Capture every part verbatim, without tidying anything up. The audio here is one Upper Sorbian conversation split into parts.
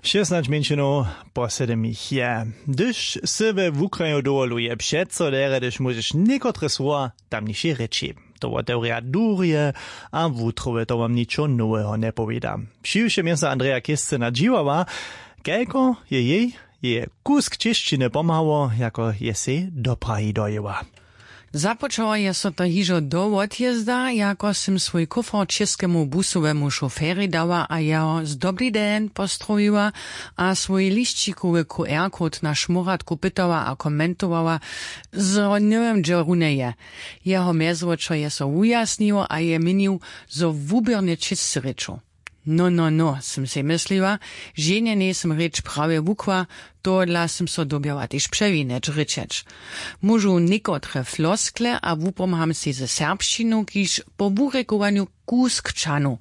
Šěsnaće mjeńšinow po sedymich je. Hdyž sy we wukraju dowoluje přeco derje hdyž móžeš někotre słowa tamnišej rěči, to wotewrja durje a wutrowe to wam ničo noweho njepowěda. Přiwšěm je so andreja kěsce nadźiwała, kajko je jej jeje kusk čěšćiny pomhało jako je sej do prahi dojěła. Započało je so to hižo do wotjězda jako sym swój kófer čěskemu busowemu šoferjej dała a jeho z dobrý den postrowiła, a swój lisćikowy qr kód na šmóratku pytała a komentowała, zo njewěm dźe runje je. Jeho mjezwočo je so wujasniło a je měnił, zo wuběrnje čěsće rěčow. No no no, sym sej mysliła, ženje njejsym rěč prawje wukła. Tohodla sym so dyrbjała tež přewinjeć rěčeć. Móžu někotre floskle a wupomham sej ze serbšćinu kiž po wurěkowanju kusk čanu.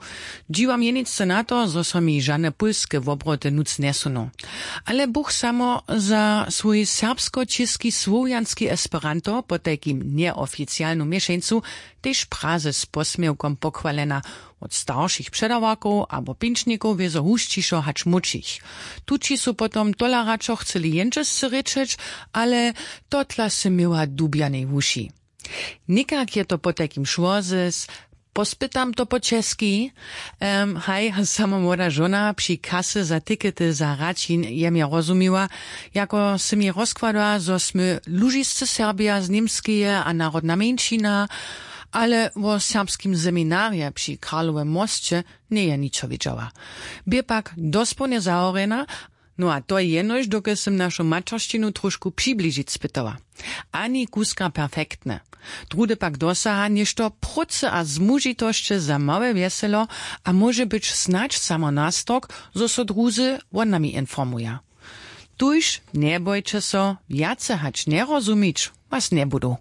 Dźiwam jeničce na to zo so mi žane pólske wobroty nutř njesuną. Ale buch samo za swój serbskočěski słowjanski esperanto potajkim njeoficialnu měšeńcu tež praze z posměłkom pochwalena. Wot staršich předawarkow abo pinčnikow wězo husćišo hač młódšich. Tući su potom tola radšo chceli jendźesce rěčeć, ale totla sy měła dubjanej wuši. Někak je to potajkim šło zes. Pospytam to po česki. Em, haj samo młoda žona při kasy za tikety za raćin je mje rozumiła, jako sy mi rozkłada zo smy lužiscy serbja z němskeje a narodna mjeńšina. Ale wo serbskim seminarje při karlowym mosće njeje ničo wědźała. Bě pak dospołnje zahorjena. No a to jenož dokelž sym našu maćeršćinu trošku přibližić spytała. Ani kuska perfektne. Druhdy pak dosaha něšto prócy a zmužitosće za małe wjeselo, a móže być snadź samo nastork zo so druzy wonami informuja. Tuž njebojće so, wjace hač njerozumić was njebudu.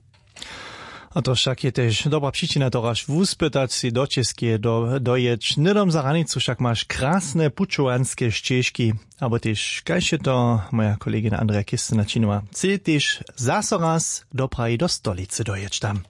A to wšak je tež dobra přičina toraž wuspytać sej do čěskeje dojěć hnydom za hranicu wšak maš krasne pućowanske šćežki. Abo tež kaž je to moja kolegina andreja kěsce načinowała, chce tež zaso raz do prahi do stolicy dojěć tam.